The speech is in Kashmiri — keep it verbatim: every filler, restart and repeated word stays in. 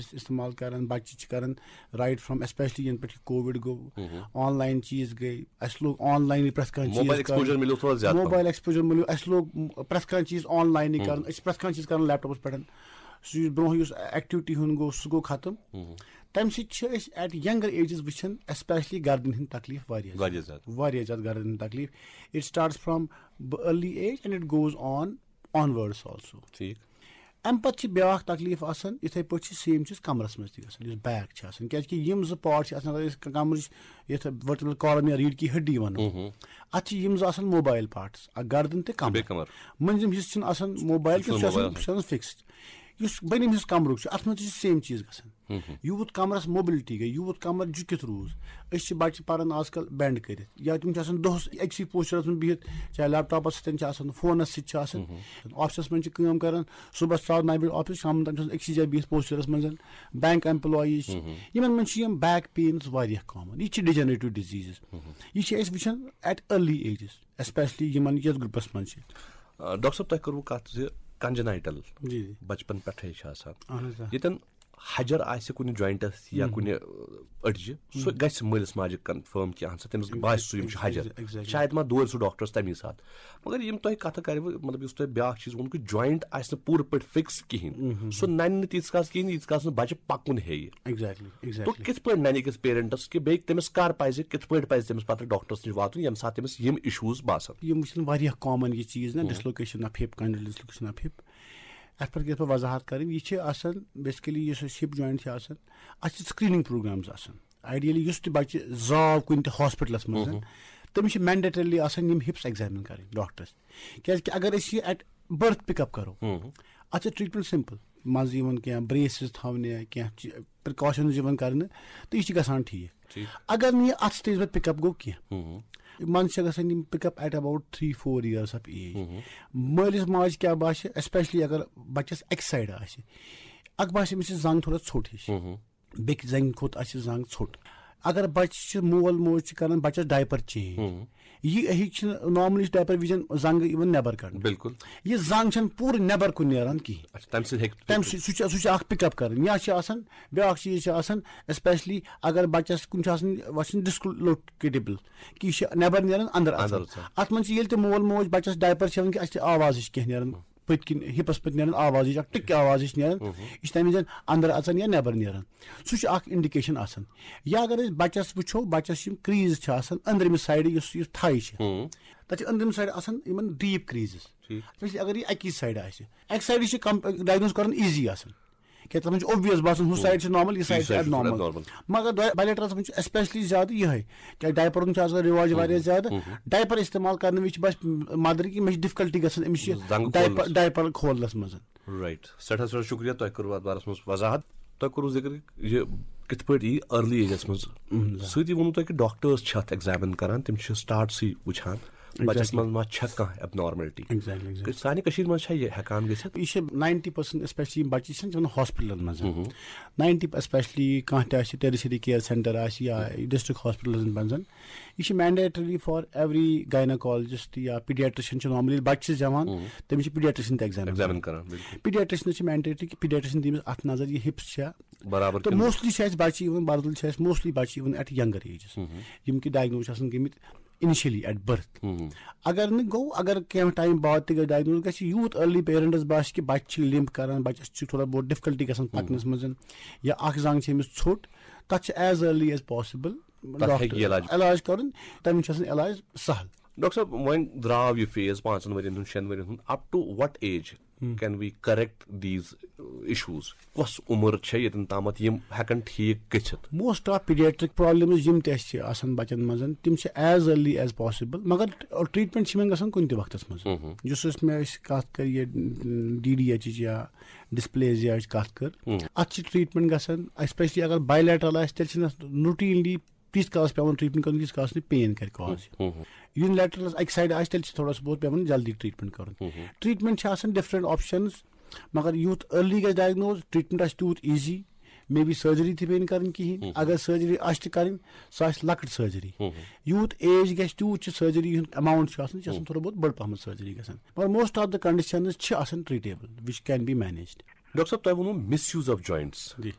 چھِ استعمال کران، بچہِ چھِ کران right from، especially ینہٕ پٮ۪ٹھ یہِ کووِڈ گوٚو، آن لاین چیٖز گٔے، اَسہِ لوگ آن لاینٕے پرٛٮ۪تھ کانٛہہ چیٖز موبایل ایکسپوجر مِلیو تھوڑا زیادٕ پہم۔ موبایل ایکسپوجر مِلیو، اَسہِ لوگ پرٛٮ۪تھ کانٛہہ چیٖز آن لاینٕے کرُن، أسۍ چھِ پرٛٮ۪تھ کانٛہہ چیٖز کران لیپ ٹاپس پٮ۪ٹھ۔ سُہ یُس برونٛہہ یُس ایکٹیوٹی ہُنٛد گوٚو، سُہ گوٚو ختم۔ تمہِ سۭتۍ چھِ أسۍ at younger ages وٕچھان، especially گردنہِ ہٕنٛدۍ تکلیٖف واریاہ واریاہ زیادٕ۔ واریاہ زیادٕ گردنہِ ہٕنٛدۍ تکلیٖف۔ It starts from early age and it goes on onwards also۔ ٹھیٖک۔ امہِ پتہٕ چھِ بیٛاکھ تکلیٖف آسان، یِتھے پٲٹھۍ چھِ سیم چیٖز کمرس منٛز تہِ گژھان، یُس بیک چھِ آسان، کیازِ کہِ یِم زٕ پارٹ چھِ آسان، اگر أسۍ کمرٕچ یتھ vertebral column یا ریٖڑھ کی ہڈی ونو، اتھ چھِ یِم زٕ آسان موبایل پارٹس، اکھ گردن تہٕ کمر۔ بیٚیہِ کمر۔ مٔنٛزِم حصہٕ چھُنہٕ آسان موبایل، چھُنہٕ کینٛہہ سُہ چھُ آسان، موبایل۔ سُہ چھُ آسان فکسڈ۔ یُس بٔنِم حصہٕ کمرُک چھُ، اتھ منٛز تہِ چھِ سیم چیٖز گژھان۔ یوٗت کمرس موبلٹی گٔے، یوٗت کمر جُکِتھ روٗز۔ أسۍ چھِ بچہِ پران آز کل بینڈ کٔرِتھ، یا تِم چھِ آسان دۄہس أکسٕے پوسچرس منٛز بِہِتھ، چاہے لیپ ٹاپس سۭتۍ چھِ آسان، فونس سۭتۍ چھِ آسان، آفسس منٛز چھِ کٲم کران، صبحس ژاو نَیہِ بجہِ آفس، شامن تام چھِ آسان أکسٕے جایہِ بِہِتھ پوسچرس منٛز۔ بینک ایمپلاییز چھِ، یِمن منٛز چھِ یِم بیک پینز واریاہ کامن۔ یہِ چھِ ڈیجنریٹو ڈیزیٖزز، یہِ چھِ أسۍ وٕچھان at early ages، especially یِمن یتھ گروپس منٛز چھِ۔ آ، ڈاکٹر صٲب، تۄہہِ کٔروٕ کتھ زِ کنجنائٹل جی، جی۔ بچپن پٮ۪ٹھے چھِ آسان۔ اہن حظ، آ۔ ییٚتٮ۪ن ہجر آسہِ کُنہِ جوینٹس یا کُنہِ، آ، أڈجہِ، سُہ گژھِ مٲلِس ماجہِ کنفرم کینٛہہ سا، تٔمِس باسہِ سُہ یِم چھِ ہجر۔ Exactly۔ شاید ما دورِ سُہ ڈاکٹرس تمی ساتہٕ۔ مگر یِم تۄہہِ کتھٕ کرِوٕ، مطلب، یُس تۄہہِ بیٛاکھ چیٖز ووٚن کہِ جوینٹ آسہِ نہٕ پوٗرٕ پٲٹھۍ فکس کِہینۍ، سُہ ننہِ نہٕ تیٖتِس کالس کِہینۍ، ییٖتِس کالس نہٕ بچہِ پکُن ہیٚیہِ۔ ایگزیکٹلی، تو ایگزیکٹلی۔ کِتھ پٲٹھۍ ننہِ أکِس پیرنٹس کہِ بیٚیہِ تٔمِس کر پزِ، کِتھ پٲٹھۍ پزِ تٔمِس پتہٕ ڈاکٹرس نِش واتُن، ییٚمہِ ساتہٕ تٔمِس یِم ایشوز باسن؟ یِم چھِنہٕ واریاہ کامن یہِ چیٖز نا، dislocation of hip, congenital dislocation of hip. اتھ پٮ۪ٹھ گژھِ پتہٕ وضاحت کرٕنۍ۔ یہِ چھِ آسان بیسکلی یُس اَسہِ ہپ جوینٹ چھِ آسان، اتھ چھِ سکریننگ پروگرامز آسان۔ آئیڈیلی یُس تہِ بچہِ زاو کُنہِ تہِ ہاسپٹلس منٛز، تٔمِس چھِ مینڈیٹریلی آسان یِم ہپس ایگزامن کرٕنۍ ڈاکٹرس۔ کیازِ کہِ اگر أسۍ یہِ ایٹ برتھ پک اپ کرو، اتھ چھِ ٹریٹمنٹ سمپل، منٛزٕ یِوان کینٛہہ بریسز تھاونہِ، کینٛہہ پرکاشنز یِوان کرنہٕ، تہٕ یہِ چھِ گژھان ٹھیٖک۔ ٹھیٖک۔ اگر نہٕ یہِ اتھ سٹیج پٮ۪ٹھ پک اپ گوٚو کینٛہہ، منٛزٕ چھِ گژھان یِم pick up at about three four years of age. مٲلِس ماجہِ کیٛاہ باسہِ، اسپیشلی اگر بچس اکہِ سایڈٕ آسہِ، اکھ باسہِ أمِس چھِ زنٛگ تھوڑا ژھوٚٹ ہِش، بیٚکہِ زنٛگہِ کھۄتہٕ آسہِ زنٛگ ژھوٚٹ۔ اگر بچہِ چھِ، مول موج چھِ کران بچس ڈایپر چینج، یہِ ہیٚکہِ چھِنہٕ نارملی ڈایپر وِزن زنٛگہٕ یِوان نٮ۪بر کڑنہٕ۔ بِلکُل۔ یہِ زنٛگ چھَنہٕ پوٗرٕ نٮ۪بر کُن نیران کِہیٖنۍ۔ اچھا، تَمہِ سۭتۍ ہیٚکہِ تَمہِ سۭتۍ سُہ چھُ، سُہ چھُ اکھ پِک اپ کران۔ یا چھِ آسان بیٛاکھ چیٖز چھِ آسان، اسپیشلی اگر بچس کُنہِ چھُ آسان وَسان ڈِسکلوکیٹیبل، کہِ یہِ چھِ نٮ۪بر نیران اندر اژان۔ اندر اژان۔ اتھ منٛز چھِ ییٚلہِ تہِ مول موج بچس ڈایپر چھِ ہٮ۪وان کہِ اَسہِ چھِ آواز ہِش کینٛہہ نیران۔ پٔتۍ کِنۍ ہِپس پٔتۍ نیران آواز ہِش، اکھ ٹِک آواز ہِش نیران۔ یہِ چھِ تَمہِ وِزِ اندر اژان یا نٮ۪بر نیران۔ سُہ چھُ اکھ انڈیکیشن آسان۔ یا اگر أسۍ بچس وٕچھو، بچس یِم کریز چھِ آسان أنٛدرِمہِ سایڈٕ، یُس یُس تھاے چھِ، تتہِ چھِ أنٛدرِم سایڈ آسان یِمن ڈیپ کریزز۔ ٹھیٖک۔ اسپیشلی اگر یہِ اکی سایڈ آسہِ، اکہِ سایڈٕ چھِ کم ڈائگنوز کرُن ایزی آسان، کیازِ تتھ منٛز چھُ اوبویس باسان، ہُہ سایڈ چھِ نارمل، یہِ سایڈ چھِ سایڈ چھُ ایبنارمل۔ ایبنارمل۔ مگر بایلیٹرلس منٛز چھُ اسپیشلی زیادٕ یِہے، کیازِ ڈایپرن چھُ آزکل رواج واریاہ زیادٕ۔ ڈایپر استعمال کرنہٕ وِزِ چھِ بس مدر کہِ مےٚ چھِ ڈفکلٹی گژھان أمِس یہِ زنٛگہٕ ڈایپر کھولنس۔ ڈایپر کھولنس منٛز۔ رائٹ، سٮ۪ٹھاہ سٮ۪ٹھاہ شُکریہ، تۄہہِ کوٚروٕ اَتھ بارَس منٛز وضاحت۔ تۄہہِ کوٚروٕ ذِکر یہِ کِتھ پٲٹھۍ یی ارلی ایجَس منٛز۔ سۭتی ووٚنوٕ تۄہہِ کہِ ڈاکٹٲرٕز چھِ اَتھ ایگزامن کران، تِم چھِ سٹارٹسٕے وٕچھان بَچَس منٛز ما چھےٚ کانٛہہ ایبنارملٹی۔ Exactly, exactly. سانہِ کٔشیٖرِ منٛز چھا یہِ ہٮ۪کان گٔژھِتھ؟ یہِ چھِ ناینٹی پٔرسنٹ، اسپیشلی یِم بَچہِ چھِ آسان تِمن ہاسپِٹلن منٛز۔ ناینٹی، اسپیشلی کانٛہہ تہِ آسہِ ٹیرشری کیر سینٹر آسہِ یا ڈسٹرکٹ ہاسپِٹلن منٛز، یہِ چھِ مینڈیٹری فار ایوری گایناکالجسٹ یا پیڈیٹرشن چھِ نارملی بَچہِ چھِ زٮ۪وان، تٔمِس چھِ پیڈیٹرشن تہِ ایگزامن ایگزامن کران، بِلکُل۔ پیڈیٹرشنس چھِ مینڈیٹری کہِ پیڈیٹرشن دِیہِ أمِس اَتھ نظر، یہِ ہِپس چھا۔ برابر تہٕ کِنہٕ موسٹلی چھِ اَسہِ بَچہِ یِوان، برزُل چھِ اَسہِ موسٹلی بَچہِ یِوان ایٹ ینگر ایجز، یِم کہِ ڈائگنوز چھِ آسان گٔمٕتۍ انیشلی ایٹ برتھ۔ اگر نہٕ گوٚو، اگر کینٛہہ ٹایم بعد تہِ گژھِ ڈائگنوز، گژھِ یوٗت ارلی پیرنٹس باسہِ کہِ بَچہِ چھِ لِمپ کران، بَچَس چھِ تھوڑا بہت ڈفکلٹی گژھان پَکنَس منٛز، یا اکھ زنٛگ چھِ أمِس ژھوٚٹ، تَتھ چھِ ایز ارلی ایز پاسبل تَتھ ہیٚکہِ علاج۔ علاج کرُن، تَمہِ چھُ آسان علاج سہل۔ ڈاکٹر صٲب، وۄنۍ درٛاو یہِ فیز پانٛژن ؤرین ہُنٛد، شٮ۪ن ؤرین ہُنٛد، up to what age can we correct these issues؟ کۄس عمر چھےٚ ییٚتٮ۪ن تامَتھ یِم ہٮ۪کن ٹھیٖک گٔژھِتھ؟ موسٹ آف پیڈیٹرک پرابلمز یِم تہِ اَسہِ چھِ آسان بَچَن منٛز، تِم چھِ ایز ارلی ایز پاسبل، مگر ٹریٹمنٹ چھِ یِمن گژھان کُنہِ تہِ وقتس منٛز۔ یُس أسۍ مےٚ أسۍ کَتھ کٔر یہِ ڈی ڈی ایچ یا ڈسپلیزیاہٕچ کَتھ کٔر، اَتھ چھِ ٹریٹمنٹ گژھان، اسپیشلی اگر بایلیٹرل آسہِ، تیٚلہِ چھِنہٕ اَتھ روٹینلی تیٖتِس کالس پٮ۪وان ٹریٹمنٹ کرُن، ییٖتِس کالس نہٕ پین کرِ کاز۔ یوٗنِلیٹرلس اَکہِ سایڈٕ آسہِ، تیٚلہِ چھِ تھوڑا سا بہت پٮ۪وان جلدی ٹریٹمنٹ کرُن۔ ٹریٹمنٹ چھِ آسان ڈفرنٹ آپشنز، مگر یوٗت ارلی گژھِ ڈائگنوز، ٹریٹمنٹ آسہِ تیوٗت ایزی۔ مے بی سرجری تہِ پیٚیہِ نہٕ کرٕنۍ کِہینۍ۔ اگر سرجری آسہِ تہِ کرٕنۍ، سۄ آسہِ لۄکٕٹ سرجری۔ یوٗت ایج گژھِ، تیوٗت چھِ سرجری ہُنٛد اماؤنٹ چھُ آسان، یہِ چھِ آسان تھوڑا بہت بٔڑ پہمتھ سرجری گژھان۔ مگر موسٹ آف دا کنڈیشنز چھِ آسان ٹریٹیبل، وِچ کین بی مینیجڈ۔ ڈاکٹر صٲب، تۄہہِ ووٚنوٕ مِس یوٗز آف جوینٹس۔ جی۔